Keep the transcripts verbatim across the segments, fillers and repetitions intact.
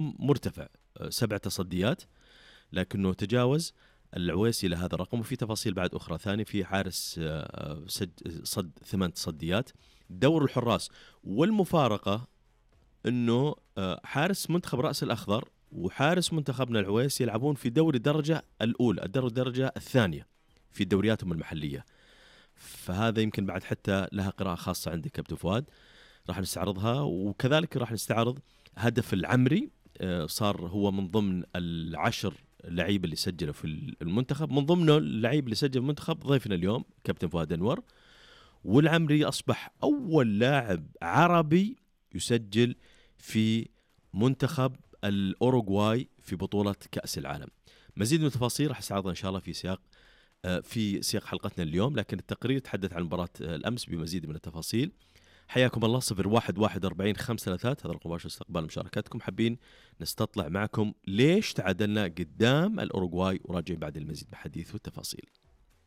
مرتفع سبع تصديات، لكنه تجاوز العويسي لهذا الرقم. وفي تفاصيل بعد أخرى ثانية، في حارس صد ثمان تصديات. دور الحراس والمفارقة أنه حارس منتخب رأس الأخضر وحارس منتخبنا العويسي يلعبون في دوري الدرجة الأولى، الدرجة الثانية في دورياتهم المحلية. فهذا يمكن بعد حتى لها قراءة خاصة عندك كابتن فؤاد، راح نستعرضها. وكذلك راح نستعرض هدف العمري، صار هو من ضمن العشر لعيبة اللي سجلوا في المنتخب، من ضمنه اللعيب اللي سجل المنتخب ضيفنا اليوم كابتن فؤاد أنور. والعمري أصبح أول لاعب عربي يسجل في منتخب الأوروغواي في بطولة كأس العالم. مزيد من التفاصيل راح استعرضها إن شاء الله في سياق في سياق حلقتنا اليوم، لكن التقرير تحدث عن مباراة الأمس بمزيد من التفاصيل. حياكم الله. صفر واحد واحد أربعين خمسة ثلاثات هذا الرقم مباشر استقبال مشاركاتكم. حابين نستطلع معكم ليش تعادلنا قدام الأوروغواي، وراجعين بعد المزيد من الحديث والتفاصيل.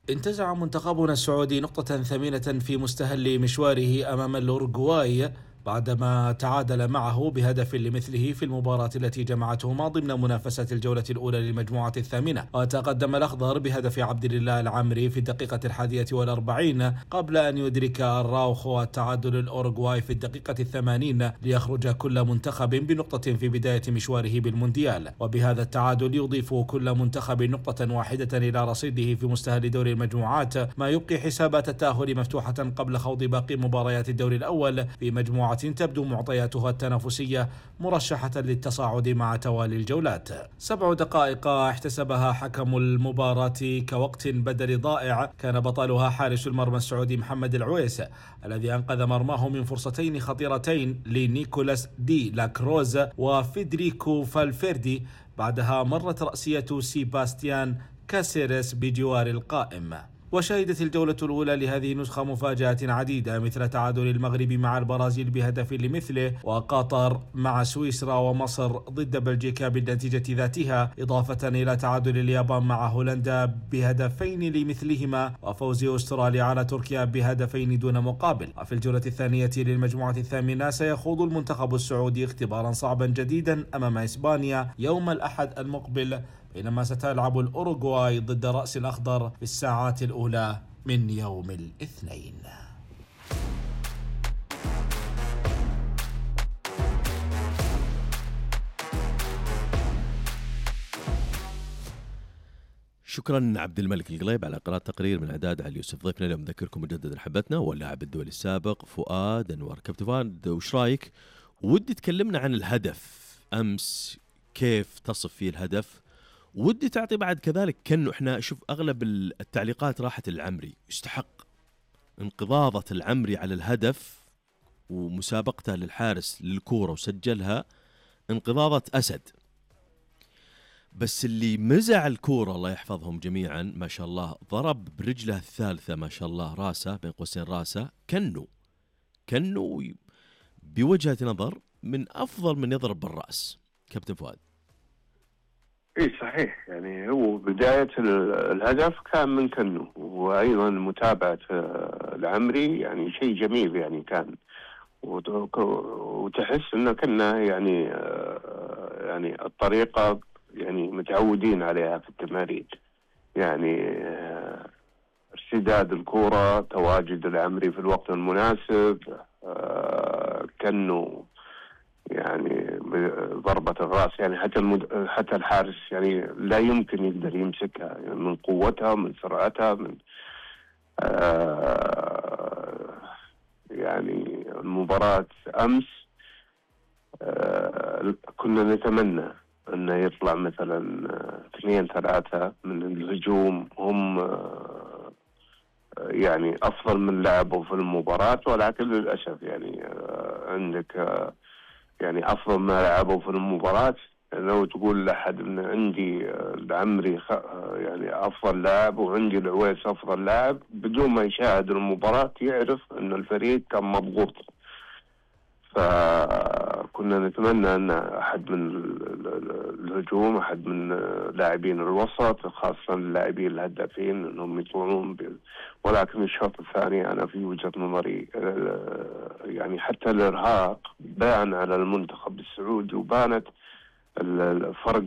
انتزع منتخبنا السعودي نقطة ثمينة في مستهل مشواره أمام الأوروغواي بعدما تعادل معه بهدف لمثله في المباراة التي جمعتهما ضمن منافسة الجولة الأولى للمجموعة الثامنة. وتقدم الأخضر بهدف عبد الله العمري في الدقيقة الحادية والأربعين قبل أن يدرك الراوخو التعادل الأوروغواي في الدقيقة الثمانين ليخرج كل منتخب بنقطة في بداية مشواره بالمونديال. وبهذا التعادل يضيف كل منتخب نقطة واحدة إلى رصيده في مستهل دوري المجموعات، ما يبقي حسابات التأهل مفتوحة قبل خوض باقي مباريات الدوري الأول في مجموعة تبدو معطياتها التنافسية مرشحة للتصاعد مع توالي الجولات. سبع دقائق احتسبها حكم المباراة كوقت بدل ضائع كان بطلها حارس المرمى السعودي محمد العويس، الذي أنقذ مرماه من فرصتين خطيرتين لنيكولاس دي لاكروز وفيدريكو فالفيردي، بعدها مرت رأسية سيباستيان كاسيريس بجوار القائم. وشهدت الجولة الأولى لهذه النسخة مفاجآت عديدة، مثل تعادل المغرب مع البرازيل بهدف لمثله، وقطر مع سويسرا، ومصر ضد بلجيكا بالنتيجة ذاتها، إضافة إلى تعادل اليابان مع هولندا بهدفين لمثلهما، وفوز أستراليا على تركيا بهدفين دون مقابل. وفي الجولة الثانية للمجموعة الثامنة سيخوض المنتخب السعودي اختبارا صعبا جديدا أمام إسبانيا يوم الأحد المقبل، بينما ستلعب الأوروغواي ضد رأس الأخضر في الساعات الأولى من يوم الاثنين. شكرا عبد الملك القليب على قراءة تقرير من إعداد علي يوسف. ضيفنا اليوم نذكركم مجددا حبتنا واللاعب الدولي السابق فؤاد أنور. كابتن فؤاد، وش رايك؟ ودي تكلمنا عن الهدف أمس، كيف تصف فيه الهدف؟ ودي تعطي بعد كذلك كأنه احنا شوف أغلب التعليقات راحت العمري، يستحق انقضاضة العمري على الهدف ومسابقته للحارس للكورة وسجلها انقضاضة أسد. بس اللي مزع الكورة الله يحفظهم جميعا ما شاء الله، ضرب برجله الثالثة ما شاء الله راسه بين قوسين راسه، كأنه كأنه بوجهة نظر من أفضل من يضرب بالرأس. كابتن فؤاد. اي صحيح، يعني هو بداية الهدف كان من كنو، وايضا متابعة العمري يعني شيء جميل يعني كان، وتحس انه كنا يعني يعني الطريقة يعني متعودين عليها في التمارين، يعني ارتداد الكرة، تواجد العمري في الوقت المناسب، كنو يعني ضربة الرأس، يعني حتى المد... حتى الحارس يعني لا يمكن يقدر يمسكها، يعني من قوتها من سرعتها من آه يعني المباراة أمس آه كنا نتمنى أنه يطلع مثلا اثنين ثلاثة من الهجوم هم آه يعني أفضل من لعبوا في المباراة، ولكن للأسف يعني آه عندك آه يعني أفضل ما لعبوا في المباراة. لو تقول لأحد من عندي العمري يعني أفضل لاعب وعندي العويس أفضل لاعب، بدون ما يشاهد المباراة يعرف أن الفريق كان مضغوط. فكنا نتمنى أن أحد من الهجوم، أحد من لاعبين الوسط، خاصة اللاعبين الهدافين، أنهم يطلعون ب... ولكن الشوط الثاني أنا في وجهة نظري يعني حتى الإرهاق بان على المنتخب السعودي، وبانت الفرق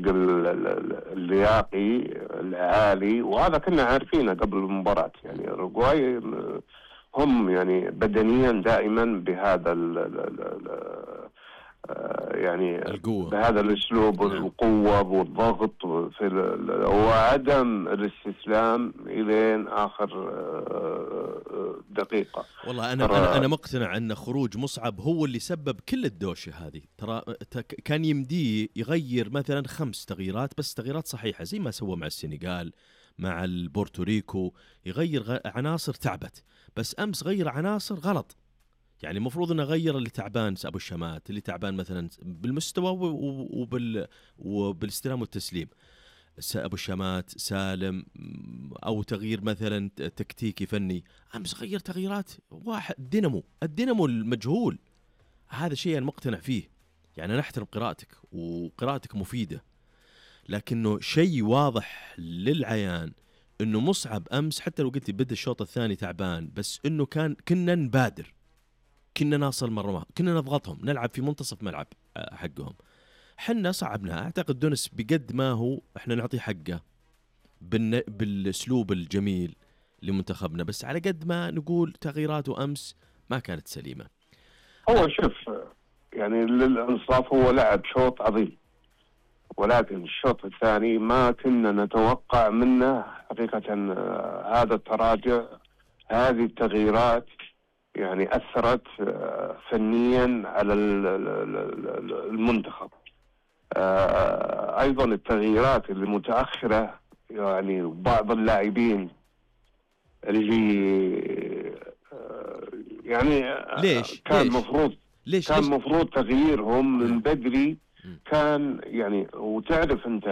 اللياقي العالي، وهذا كنا عارفينه قبل المباراة. يعني الأوروغواي هم يعني بدنيا دائما بهذا ال ال ال يعني القوة. بهذا الأسلوب، نعم. القوة والضغط في وعدم الاستسلام إلى آخر دقيقة. والله أنا أنا أنا مقتنع أن خروج مصعب هو اللي سبب كل الدوشة هذه. ترى كان يمديه يغير مثلا خمس تغييرات بس، تغييرات صحيحة زي ما سوى مع السنغال مع البورتوريكو، يغير عناصر تعبت. بس أمس غير عناصر غلط. يعني المفروض انه غير اللي تعبان ابو الشمات، اللي تعبان مثلا بالمستوى وبال وبالاستلام والتسليم، ابو الشمات سالم، او تغيير مثلا تكتيكي فني. امس غير تغييرات واحد دينامو، الدينامو المجهول. هذا شيء انا مقتنع فيه. يعني انا احترم قراءتك وقراءتك مفيده، لكنه شيء واضح للعيان انه مصعب امس حتى لو قلت بدا الشوط الثاني تعبان، بس انه كان كنا نبادر، كنا نصل مرة، كنا نضغطهم، نلعب في منتصف ملعب حقهم. حنا صعبنا. أعتقد دونس بقد ما هو إحنا نعطي حقه بالن... بالأسلوب الجميل لمنتخبنا، بس على قد ما نقول تغييراته أمس ما كانت سليمة. هو شوف يعني للإنصاف هو لعب شوط عظيم، ولكن الشوط الثاني ما كنا نتوقع منه حقيقة هذا التراجع. هذه التغييرات يعني أثرت فنيا على المنتخب. أيضا التغييرات اللي متأخرة، يعني بعض اللاعبين اللي يعني ليش؟ كان مفروض ليش؟ كان مفروض تغييرهم من بدري. م. كان يعني وتعرف أنت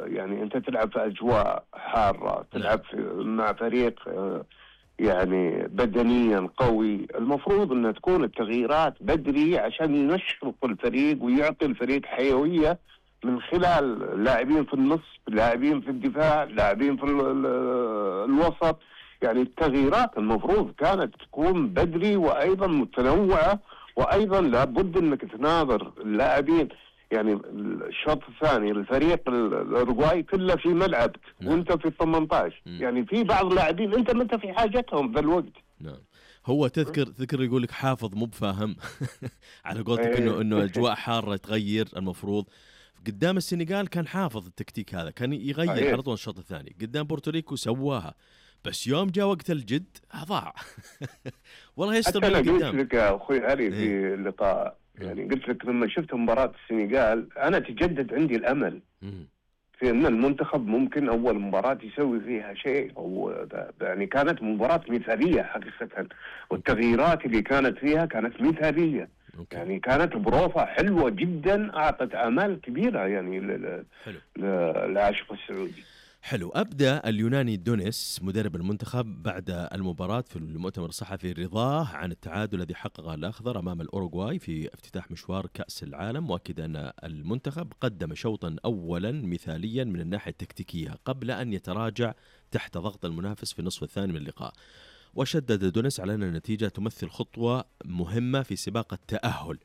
يعني أنت تلعب في أجواء حارة، تلعب في مع فريق يعني بدنيا قوي. المفروض أن تكون التغييرات بدري عشان ينشط الفريق ويعطي الفريق حيوية من خلال لاعبين في النص، لاعبين في الدفاع، لاعبين في الوسط. يعني التغييرات المفروض كانت تكون بدري وأيضا متنوعة، وأيضا لابد أنك تناظر اللاعبين. يعني الشوط الثاني الفريق الأوروغواي كله في ملعبك. نعم. وانت في ثمانية عشر. م. يعني في بعض اللاعبين انت ما انت في حاجتهم ذا الوقت. نعم. هو تذكر تذكر يقول لك حافظ مو بفاهم على قولتك انه انه اجواء حاره تغير. المفروض قدام السنغال كان حافظ التكتيك هذا، كان يغير على طول الشوط الثاني. قدام بورتوريكو سواها، بس يوم جاء وقت الجد ضاع. والله يستر من قدام. قلت لك يا اخوي علي في اللقاء، يعني قلت لك لما شفت مباراة السنغال أنا تجدد عندي الأمل في أن المنتخب ممكن أول مباراة يسوي فيها شيء. أو يعني كانت مباراة مثالية حقيقة، والتغييرات اللي كانت فيها كانت مثالية. يعني كانت بروفة حلوة جدا، أعطت آمال كبيرة يعني للعاشق السعودي. حلو. أبدأ اليوناني دونيس مدرب المنتخب بعد المباراة في المؤتمر الصحفي رضاه عن التعادل الذي حققه الأخضر أمام الأوروغواي في افتتاح مشوار كأس العالم، مؤكدا أن المنتخب قدم شوطا أولا مثاليا من الناحية التكتيكية قبل أن يتراجع تحت ضغط المنافس في النصف الثاني من اللقاء. وشدد دونيس على أن النتيجة تمثل خطوة مهمة في سباق التأهل.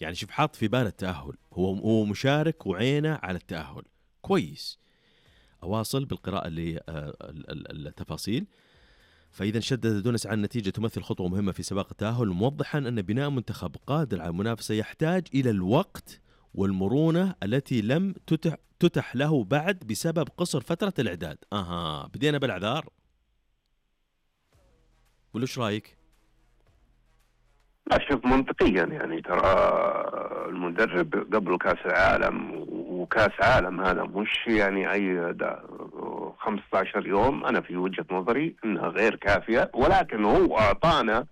يعني شوف، حاط في بال التأهل، هو هو مشارك وعينه على التأهل. كويس. أواصل بالقراءة للتفاصيل. فإذا شدد دونس عن النتيجة تمثل خطوة مهمة في سباق التأهل، موضحا أن بناء منتخب قادر على المنافسة يحتاج إلى الوقت والمرونة التي لم تتح, تتح له بعد بسبب قصر فترة الإعداد. أها، بدينا بالأعذار. وليش رأيك؟ أشوف منطقيا، يعني ترى المدرب قبل كأس العالم، وكأس عالم هذا مش يعني أي خمسة عشر يوم. أنا في وجهة نظري أنها غير كافية، ولكن هو أعطانا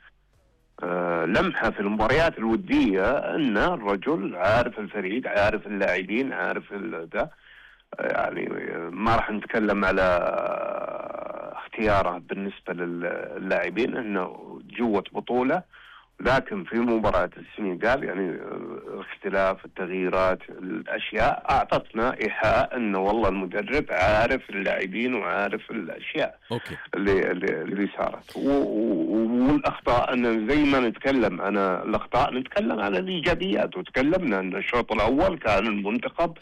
لمحة في المباريات الودية أن الرجل عارف الفريق، عارف اللاعبين، عارف ده. يعني ما راح نتكلم على اختياره بالنسبة للاعبين، أنه جوة بطولة لكن في مباراة السنغال يعني اختلاف التغييرات الأشياء أعطتنا إيحاء أنه والله المدرب عارف اللاعبين وعارف الأشياء أوكي. اللي اللي صارت. والأخطاء أن زي ما نتكلم أنا الأخطاء نتكلم على الإيجابيات، وتكلمنا أن الشوط الأول كان المنتخب